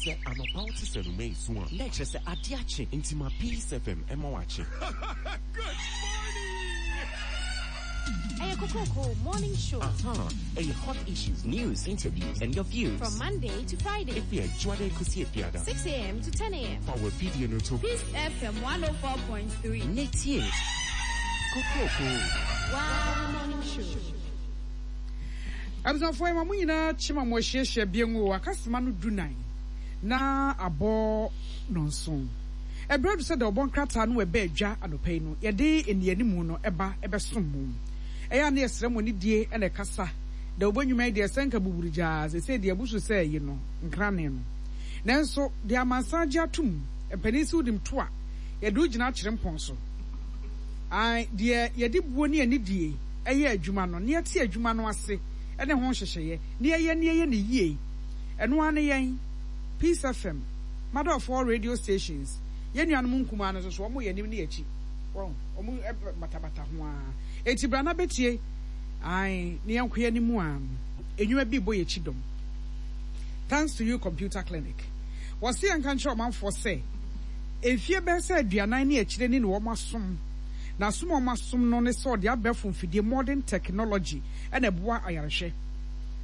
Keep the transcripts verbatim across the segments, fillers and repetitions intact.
Sɛ anɔpa wote sɛ noma esu a, na ɛkyerɛ sɛ ade akye, nti ma Peace F M ɛma wakye. Good morning! Ɛyɛ Kokroko Morning Show. Aha, ɛyɛ hot issues, news, interviews, and your views. From Monday to Friday. Efi Adwoada ekosi Efiada. six a m to ten a m. Fa wɔ fidie no to. Peace F M one oh four point three. Ne tie. Kokroko. Wow, Morning Show. Abusuafoɔ yi, ma mo nyinaa kyema mo ahyiahyia bie ngu akasema no du nan na abɔ nɔnson. Ɛberɛ du sɛ deɛ ɔbɔ nkrataa no ɛbɛ adwa anɔpa yi no, yɛde nnianimu no ɛba ɛbɛsom mo. Ɛyɛ a ne yɛsrɛ mo anidie ɛna ɛkasa da wobɔ nnwuma yi deɛ sɛ nka buburu gyaa sɛsɛ deɛ abusu sɛ yi no nkrane no, nanso deɛ amansan agye atom mpanin sɛ wonim to a yɛde wo gyina akyerɛ mpɔn so. Ae, deɛ yɛde buo ne anidie ɛyɛ adwuma no ne yɛte adwuma no ase ɛne ho nhyehyɛeɛ ne yɛyɛ ne yɛyɛ ne yie. Ɛno ara ne yɛn Peace F M, mother of all radio stations. Yɛn nuanom nkumaa no nso so, wɔn yɛ anim ne yɛkyi, wɔn wɔn batabata ho ara. Eti bra na bɛtie. Ae, ne yɛn kɔ yɛn anim a enwuma bi bɔ yɛkyi dɔm. Thanks to You Computer Clinic, wɔsi yɛn nka nkyerɛ ɔmanfoɔ sɛ efie bɛyɛ sɛ aduanan ne akyire ne na wɔn asom na asom a wɔn asom no ne sɛ ɔde abɛɛfo mfidie, modern technology, ɛna ɛboa ayarehwɛ.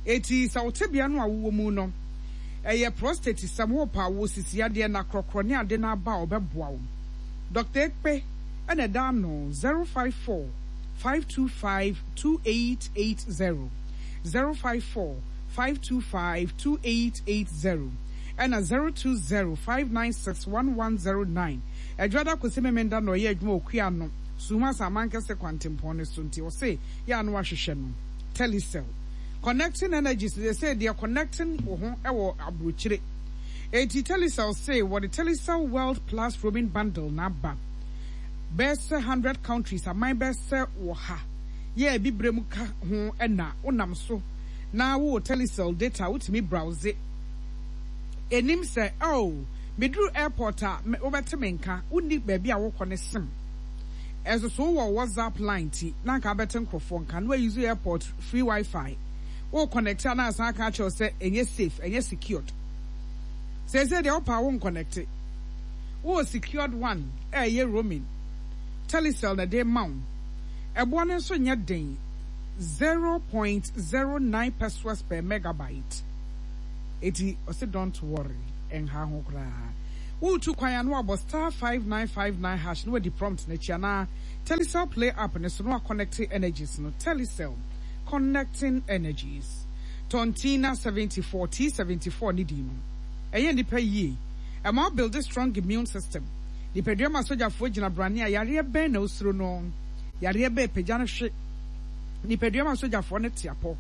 Eti sɛ wote bea no a wowɔ mu no ɛyɛ prostate sɛm ho pa wo sisi adeɛ na korɔkorɔ ne ade no aba a, ɔbɛboa wo. Doctor Ekpe ɛna ɛda ano, zero five four five two five two eight eight zero, zero five four five two five two eight eight zero, ɛna zero two zero five nine six one one zero nine. Adwoada kɔsi Memenda na ɔyɛ adwuma okua no Suma Samankɛse kwantempɔn no so, nti ɔse yɛ ano ahwehwɛ no. Telecel, connecting energies, they say deɛ connecting wo ho ɛwɔ aburokyire. Eti Telecel say wɔde Telecel World Plus roaming bundle n'aba bɛyɛ sɛ hundred countries, aman bɛyɛ sɛ wɔ ha yɛ abibire mu ka ho, ɛna wonam so na wowɔ Telecel data, wotumi browse enim sɛ, oh, meduru airport a, wobɛte me nka. Wonni baabi a wokɔ ne sim ɛnso so wowɔ WhatsApp line ti na nka abɛte nkurɔfoɔ nka na wayi airport free WiFi wo connect a, na asan aka akyerɛw sɛ ɛnyɛ safe, ɛnyɛ secured. Sɛsɛ deɛ wopa wo nconnect, wowɔ secured one ɛyɛ roaming. Telecel na de ma wo. Ɛboɔ no nso nyɛ den, zero point zero nine pesewas per megabyte. Eti ɔsi don't worry, ɛnha ho koraa. Wotu kwan ano abɔ star five nine five nine hash na wadi prompt n'akyi anaa Telecel Play app ne so na waconnect energies no. Telecel, connecting energies. Tontina seventy four, T seventy four ne di no ɛyɛ nipa yie, ɛma build a strong immune system. Nipadua ma sogyafoɔ gyina brane a yareɛ bɛn na osuro no, yareɛ bɛɛ pagya no hwe. Nipadua ma sogyafoɔ no te apɔ.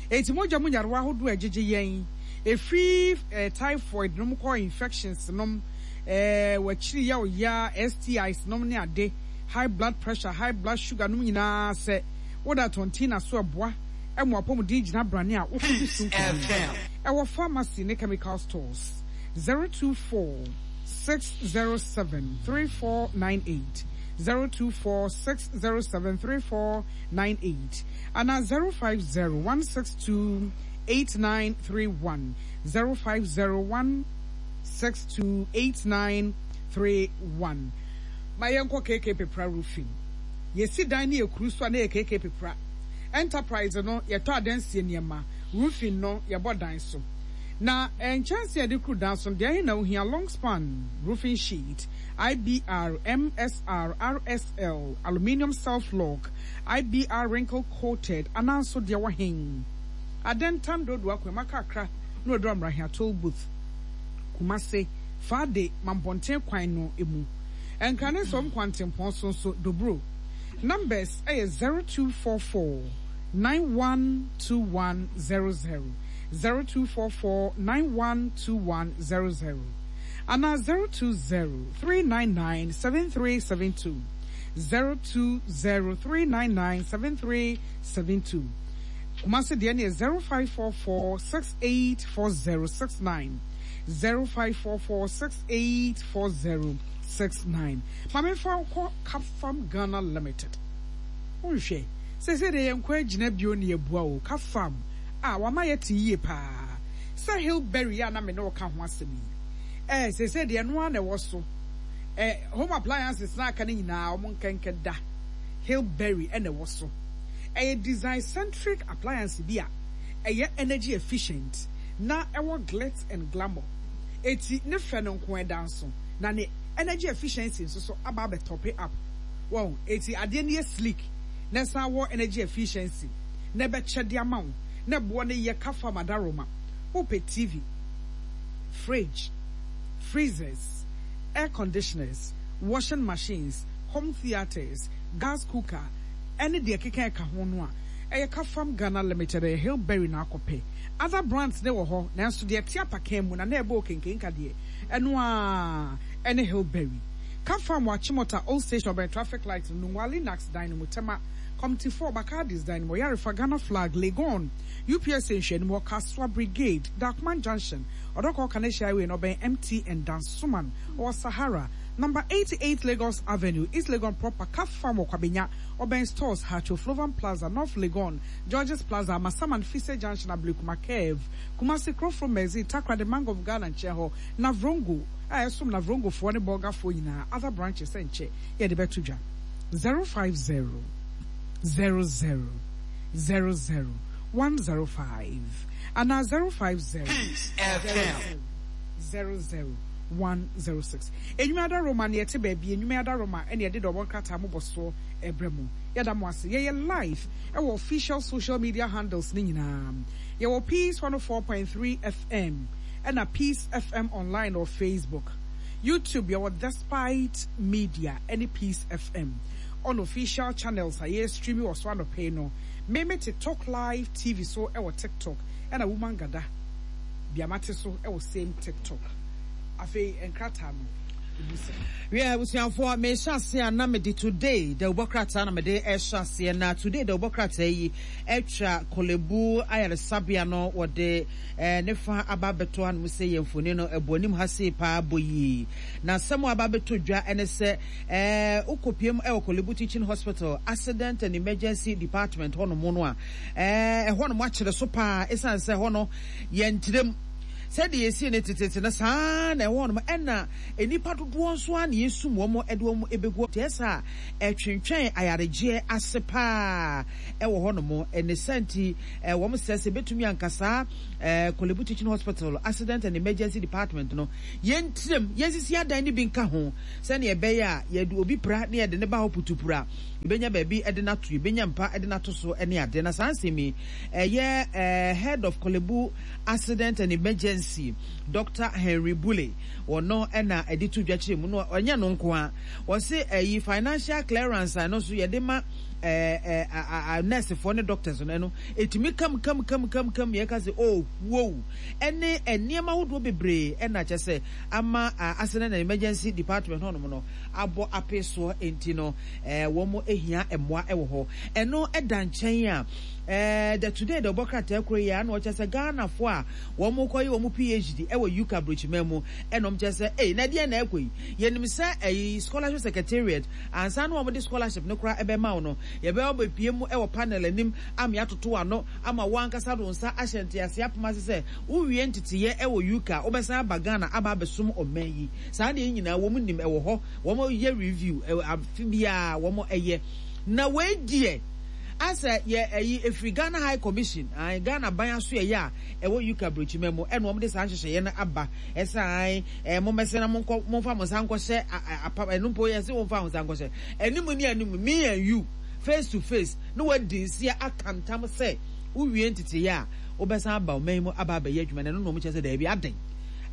Eti mogya mu nyarewa ahodoɔ a ɛgyegye yɛn efiri ɛɛ typhoid nom kɔ infections nom, ɛɛ wɔakyiri yɛ ɔya, S T Is nom ne ade, high blood pressure, high blood sugar nom nyinaa, sɛ woda Tontina so, ɛboa ɛmo apɔmuden gyina brane a wokɔdi so nkonim. Ɛwɔ pharmacy ne chemical stores. zero two four six zero seven three four nine eight, zero two four six zero seven three four nine eight, ana zero five zero one six two eight nine three one, zero five zero one six two eight nine three one. Ma yɛnkɔ K K Pepra Roofing. Yɛsi dan ne yɛkuru so a na yɛ K K Pepra Enterprise no. Yɛtɔ adansie nneɛma, roofing no yɛbɔ dan so na nkyɛnse a yɛde kuru dan so no deɛ ɛhe na ohia: long span roofing sheet, I B R, M S R, R S L, aluminium self lock, I B R wrinkle coated, ananso deɛ wɔhen Adentan dodo akɔma kakra na wɔduru Amrahia toll booth, Kumase Faade Mampɔnten kwan no emu, Nkrane nsom kwantempɔn so nso dobro. Numbers ɛyɛ zero two four four nine one two one zero zero, zero two four four nine one two one zero zero, ana zero two zero three nine nine seven three seven two, zero two zero three nine nine seven three seven two. Kumasi deɛ no yɛ zero five four four six eight four zero six nine, zero five four four six eight four zero six nine. Maame fa kɔ Capfarm Ghana Limited. Nhwɛ sɛsɛ deɛ yɛn kɔ agyina bio ne yɛbua o. Capfarm a wama yɛ te yie paa. Sɛ Hillberry a na me ne wo ka ho asɛm yi, eh, seesei deɛ ɛno ara na ɛwɔ so. Eh, home appliances na aka no nyinaa, wɔn nkɛnkɛ da. Hillberry na ɛwɔ so. Ɛyɛ design-centric appliance bi a ɛyɛ energy efficient na ɛwɔ glitz and glamour. Eti ne fɛ no nko ɛda nso, na ne energy efficiency nso so aba abɛtɔpe up. Wɔn, eti adeɛ no yɛ sleek na ɛsan wɔ energy efficiency na ɛbɛkyɛ de ama wo na ɛboɔ no yɛ kafa madaroma. Wopɛ T V, fridge, freezers, air conditioners, washing machines, home theatres, gas cooker, ɛne deɛ ɛkeka ɛka ho no a, ɛyɛ Kafam Ghana Limited, ɛyɛ Hillberry na akɔpɛ. Other brands ne wɔ hɔ, nanso deɛ ɛte apakan mu na na ɛbɔ okenkenka deɛ, ɛno a ɛne Hillberry. Kafam wɔ Achimota Old Station, ɔbɛn traffic light no, Nungua Linax dan no mu, Tema Committee four, Bakardis dan no mu, Ɔyarefa Ghana Flag, Legon, U P S A nhwɛanim hɔ, Kasoa Brigade, Darkman Junction, Ɔdɔkɔ Kaneshie Highway no ɔbɛn M T N, Dansoman, ɔwɔ Sahara, number eighty-eight Lagos Avenue, East Legon proper. Kafam wɔ Kwabenya, ɔbɛn Stores, Haatso, Flovan Plaza, North Legon, Georges Plaza, Amasaman Fise Junction, Ablekuma Curve, Kumasi Krofrom Mexi, Takoradi Bank of Ghana nkyɛn hɔ, Navrongo, a ɛsom Navrongofoɔ ne Bɔgafoɔ nyinaa. Other branches nkyɛ yɛde bɛto dwa zero five zero zero zero zero zero one zero five anaa zero five zero Peace F M. zero zero one zero six. Enwuma Adaroma ne yɛte baabi enwuma Adaroma ɛne yɛde dɔbɔ nkrataa mobɔ soɔ ɛbrɛ mu. Yɛda mo ase. Yɛyɛ live ɛwɔ official social media handles ne nyinaa. Yɛwɔ Peace one oh four point three F M ɛna Peace F M online wɔ Facebook, YouTube. Yɛwɔ Despite Media ɛne Peace F M on official channels a yɛ stream wɔ so anɔpɛ no. Meme te Talk Live T V so ɛwɔ TikTok, ɛna Woman Gada Biamate so ɛwɔ same TikTok. Afei nkrataa no ebu sɛ. Wiɛ, abusuafoɔ, mehyɛ ase a na mede Today dawubɔ krataa na mede ɛhyɛ aseɛ. Na Today dawubɔ krataa yi atwa Korle Bu ayaresabea no, wɔde ɛɛ ne fa aba abɛto hanom sɛ yɛn mfoni no ɛbɔ anim ha sei paa bɔ yie. Na asɛm a aba abɛto dwa ɛne sɛ ɛɛ wokɔpiem ɛwɔ Korle Bu Teaching Hospital Accident and Emergency Department hɔnom no a, ɛɛ ɛhɔnom akyerɛ so paa, ɛsiane sɛ hɔ no yɛnkyerɛm sɛdeɛ yɛsie no tetete no saa na ɛwɔ hɔnom, ɛna nnipa dodoɔ nso a na yɛsum wɔn de wɔn bɛgu nti ɛsɛ a ɛtwentwɛn ayaregyeɛ ase paa ɛwɔ hɔnom. Ɛne sɛ nti wɔn sɛ sɛ bɛtumi anka saa Korle Bu Teaching Hospital Accident and Emergency Department no, yɛntirem yɛnsisi adan no bi nka ho sɛnea ɛbɛyɛ a yɛde obi pra ne yɛde ne ba hɔ putupura, yɛbɛnya baabi ɛde n'ato, yɛbɛnya mpa ɛde n'ato so ɛne ade. Na saa nsɛm yi, ɛyɛ head of Korle Bu Accident and Emergency, Doctor Henry Bule, wɔno ɛna ɛde to dwa kyerɛ mu no. Ɔnyɛ no nko a wɔsi ɛyi financial clearance a ɛno nso yɛde ma ɛɛ ɛɛ nursefoɔ ne doctors no, ɛno etumi kam kam kam kam kam yɛka sɛ oh wow, ɛne nneɛma ahodoɔ bebree ɛna kyɛ sɛ ama Accident and Emergency Department hɔnom no abɔ ape soɔ. Nti no ɛɛ wɔn ehia mmoa ɛwɔ hɔ. Ɛno ɛda nkyɛn a, ɛɛ the Today de ɔbɔ krataa kuro yi a na ɔkyɛ sɛ Ghanafoɔ a wɔn kɔyɛ wɔn P H D ɛwɔ U K aburokyiman mu, ɛna wɔn kyɛ sɛ ɛy na ɛdeɛ na ɛkɔ yi, yɛnim sɛ ɛyi scholarship secretariat ansa na wɔn de scholarship no koraa ɛbɛma wo no, yɛbɛyɛ ɔbɛpie mu ɛwɔ panel anim ama yɛatoto ano ama wɔn ankasa de wɔn nsa ahyɛ ntease apem ase sɛ wowie nteteyɛ ɛwɔ U K a, wobɛsan aba Ghana aba abɛsom ɔman yi. Saa deɛ nyinaa wɔn nim ɛwɔ hɔ, wɔn yɛ review ɛwɔ afe biara wɔn ɛyɛ. Na wei deɛ asɛ yɛ ɛyi efiri Ghana High Commission ayi Ghana ban aso ɛyɛ a ɛwɔ U K aburokyima mu, ɛna wɔn de saa nhyehyɛeɛ no aba ɛsɛ ayi ɛɛ mo mmɛsɛ na mo nkɔ mo nfa mo nsa nkɔhyɛ apam. Ɛno mpo yɛ sɛ wɔn nfa mo nsa nkɔhyɛ anim ne anim, me and you face to face, na wɔadi nsia aka ntam sɛ wowie nteteyɛ a, wobɛsan aba ɔman mu aba abɛyɛ adwuma. Na ɛno na wɔn kyerɛ sɛ daabi, adan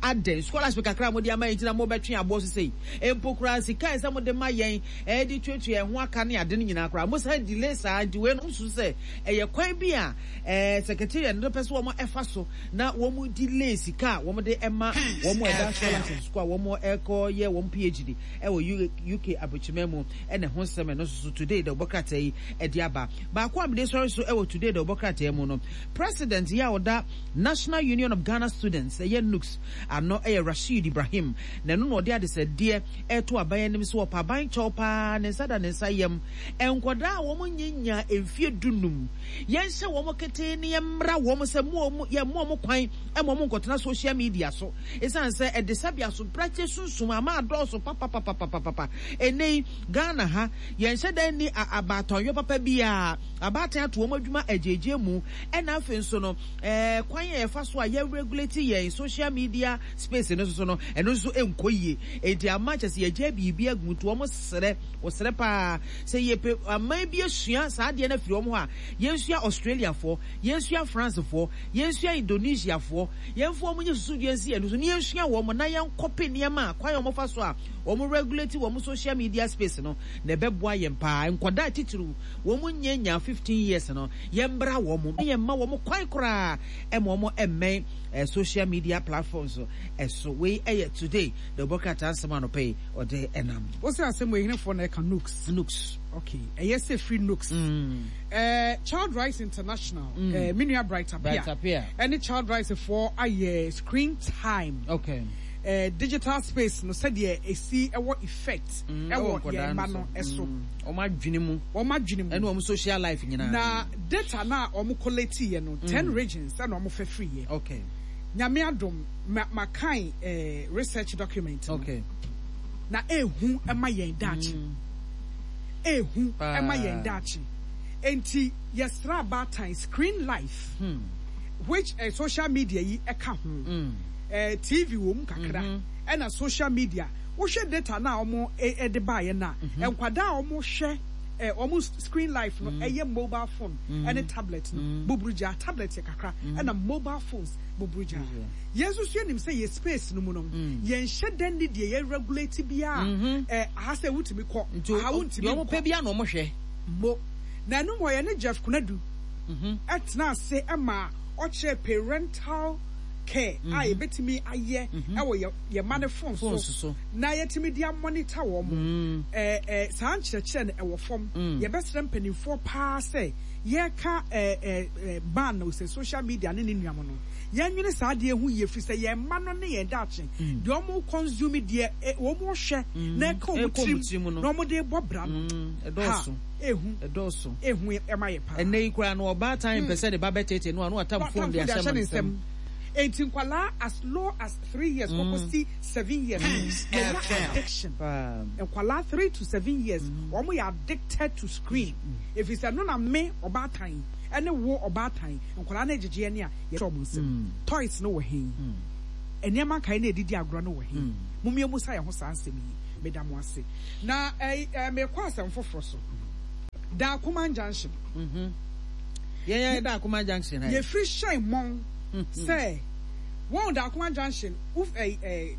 adan scholarship kakra a mode ama yɛn nti na mobɛtwe aboɔ so sei mpo koraa, sika a ɛsɛ mode ma yɛn ɛde tuatua yɛn ho aka ne ade no nyinaa koraa, mosan delay saa. Nti wei no nso sɛ ɛyɛ kwan bi a ɛɛ secretariat no pɛ sɛ wɔn ɛfa so na wɔn delay sika a wɔn de ɛma wɔn ɛda scholarship sukuu a wɔn ɛkɔ yɛ wɔn P H D ɛwɔ U K aburokyimɛ mu. Ɛna ɛho nsɛm ɛno nso so Today de ɔbɔ krataa yi ɛde aba. Baako a mede sɔre so ɛwɔ Today de ɔbɔ krataa mu no, president yi a ɔda National Union of Ghana Students, ɛyɛ NUGS. ano ɛyɛ Rashid Ibrahim na ɛno na ɔde adesɛdeɛ ɛto aban anim so ɔpa aban kyɛw paa ne nsa da ne nsa yam nkwadaa a wɔn nyanya mfie dunum yɛnhyɛ wɔn ketee ne yɛmmra wɔn sɛ mo wɔn yɛ mo wɔn kwan ɛma wɔn nkɔtena social media so ɛsiane sɛ ɛde sɛbi aso brakye sunsum ama adɔɔso papapapapapa ɛnɛ Ghana ha yɛnhyɛ dan ni abaatɔnyɔ papa bi a abaatan ato wɔn adwuma agyegye mu ɛna afei nso no ɛɛ kwan yɛ yɛfa so a yɛ regulate yɛn social media space no so no ɛno nso ɛnkɔ yie enti ama kyɛ sɛ yɛgye biribi agu nti wɔn srɛ wɔsrɛ paa sɛ yɛpɛ aman bi asua saa adeɛ no afiri wɔn hɔ a yɛnsua Australiafoɔ yɛnsua Francefoɔ yɛnsua Indonesiafoɔ yɛmfa wɔn nyɛ susudua nsi yɛn so ne yɛnsua wɔn na yɛnkɔpe nneɛma a kwan a wɔfa so a wɔn regulate wɔn social media space no na ɛbɛboa yɛn paa nkwadaa titiriw wɔn nyɛ nya fifteen years no yɛmbra wɔn yɛmma wɔn kwan koraa ɛma wɔn ɛmmɛn eh, social media platforms ɛso wei ɛyɛ today the bɔkrataa nsɛm anɔpɛ yi ɔde ɛnam. Wosɛ asɛm wɔ ehinefoɔ na ɛka nooks. Nooks. Okay, ɛyɛ sɛ free nooks. Mm. Uh, Child Rights International, mm. uh, me nua Bright Apia, ɛne Child Rights foɔ ayɛ screen time. Okay. Uh, digital space no sɛdeɛ esi ɛwɔ effect ɛwɔ yɛn mma no ɛso. Wɔn adwene mu. Wɔn adwene mu. Ɛne wɔn social life nyinaa. Na data na wɔn collate yɛ no ten regions ɛna wɔn fɛ free yɛ. Okay. Nyame adom ma ma kan eh, research document no. Okay. Na ehu ɛma yɛn daakye. Ehu ɛma yɛn daakye. Enti yɛsra abaatan screen life. Hmm. Which uh, social media yi ɛka ho. Mm. Uh, T V wɔ mu kakra. Ɛna mm -hmm. social media. Wohwɛ data na ɔmo ɛde baayɛ na nkwadaa ɔmo hwɛ ɔmo screen life no ɛyɛ mobile phone ɛne tablet no buburugya tablet yɛ kakra ɛna mobile phones buburugya. Yɛn nso so yɛnim sɛ yɛ space no mu no yɛn hyɛ dan ne deɛ yɛ regulate bia ɛ aha sɛ wotumi kɔ aha wontumi kɔ. Ɔmo pɛ bia na ɔmo hwɛ. Mo na ɛno mo yɛ ne Jeff Konadu ɛtena ase ɛma ɔkyerɛ parental care a yɛbɛtumi ayɛ ɛwɔ yɛ ma ne phone so na yɛtumi de monitor wɔn eh eh saa nkyerɛkyerɛ no ɛwɔ fam yɛbɛsrɛ mpanimfoɔ paa sɛ yɛka eh eh ban no sɛ social media ne ne nnuam no yɛnwene saa adeɛ ho yie firi sɛ yɛn mma no ne yɛn daakye deɛ wɔn consume deɛ wɔn hwɛ na ɛka wɔn tirim na wɔn de bɔ bra no ha ehu ɛdɔɔso ehu ɛma yɛ paa ɛnɛ yi koraa no ɔbaatan mpɛ sɛ ne ba bɛtete no ano atam phone de ahyɛ ne nsam. Enti nkwalaa as low as three years kɔkɔ si seven years yɛnya addiction. Nkwalaa three to seven years wɔn yɛ addicted to screen. Efi sɛ no na me ɔbaatan ɛne wo ɔbaatan nkwalaa na egyegye ɛne a yɛhyɛ wɔn nsam. Toys no wɔ hen, nneɛma nkae na edidi agorɔ no wɔ hen. Mumie mu sa yɛn ho saa nsɛm yi meda mo ase. Na ɛɛ ɛɛ mekɔ asɛm foforɔ so. Daakoma Junction. Yɛn yɛ Daakoma Junction ha. Yɛfiri hyɛn mɔn. Sɛ wɔn Daakoma Junction uf eh eh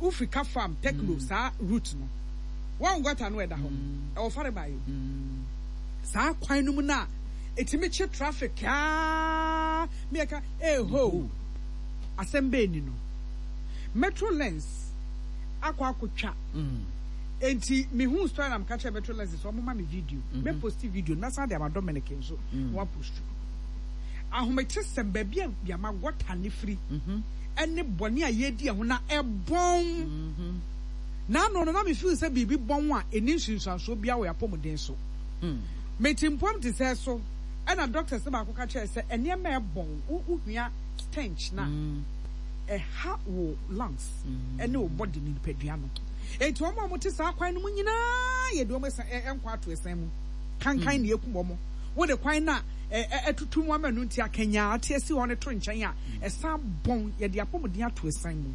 Ufrika farm Tekno saa route no wɔn gutter no ɛda hɔ ɛwɔ fare ba yi saa kwan no mu na etimi kye traffic aa miɛka eh ho asɛm bɛɛ ni no Metro Lens akɔ akɔtwa enti me hu story na meka kyerɛ Metro Lens so ɔmo ma me video me post video na san de ama Dominic nso na wa post ahomete sɛm baabi a yama gɔta ne firi ɛne bɔne a yɛdi ɛho na ɛbɔn na no no na me feel sɛ biribi bɔn a ɛni nsunsuansoɔ bia wɔ apɔmuden so meti mpɔm te sɛ so ɛna doctors ne baako ka kyerɛ sɛ ɛnneɛma ɛbɔn wohua stench na ɛha wo lungs ɛne wo body ne nipadua no enti wɔn a wɔte saa kwan no mu nyinaa yɛde wɔn ɛnkɔ ato ɛsɛn mu kankan ne ekum wɔn wode kwan na ɛtutu mu ama no nti akanya ate asi hɔ ne to nkyɛn a ɛsan bɔn yɛde apɔmuden ato ɛsan mu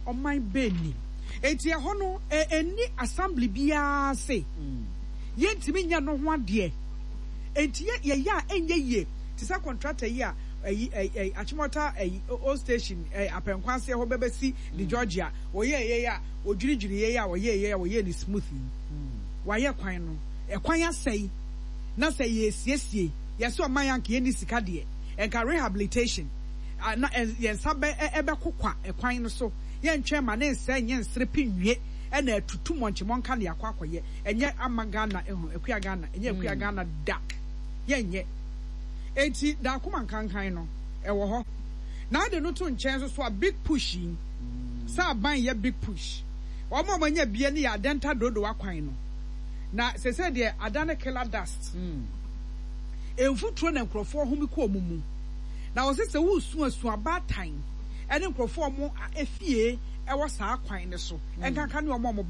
ɔman bɛni enti ɛhɔ no ɛni assembly biara se yɛntumi nya no ho adeɛ enti yɛyɛ a ɛnyɛ yie te sɛ contractor yi a ɛyi ɛyi Achimota ɛyi old station ɛyi apɛnkwanseɛ hɔ bɛbɛsi de Georgia wɔyɛ yɛ a wɔdwiridwiri yɛ a wɔyɛ yɛ a wɔyɛ ne smoothie wɔayɛ kwan no ɛkwan asɛe na sɛ yɛsiesie yɛsɛ ɔman yanka yɛni sika deɛ ɛnka rehabilitation na yɛnsa bɛ ɛbɛkokwa ɛkwan no so yɛntwɛn ma ne nsɛ nyɛ nsere pinwie ɛna atutu mɔnkyemɔnka ne akɔ akɔyɛ ɛnyɛ ama Ghana ɛho akua Ghana ɛnyɛ akua Ghana da yɛnyɛ enti Daakoma nkankan no ɛwɔ hɔ na ade no to nkyɛn so so a big push yi Sɛ aban yɛ big push. Wɔn a wɔanya bie no yɛ Adenta Dodowa kwan no. Na sese deɛ adane killer dust. Mfuturo na nkurɔfoɔ home kɔ wɔn mu. Na wɔsɛ sɛ wosu asu abaatan ɛne nkurɔfoɔ a wɔn efie ɛwɔ saa kwan no so. Ɛnkanka ne wɔn a wɔn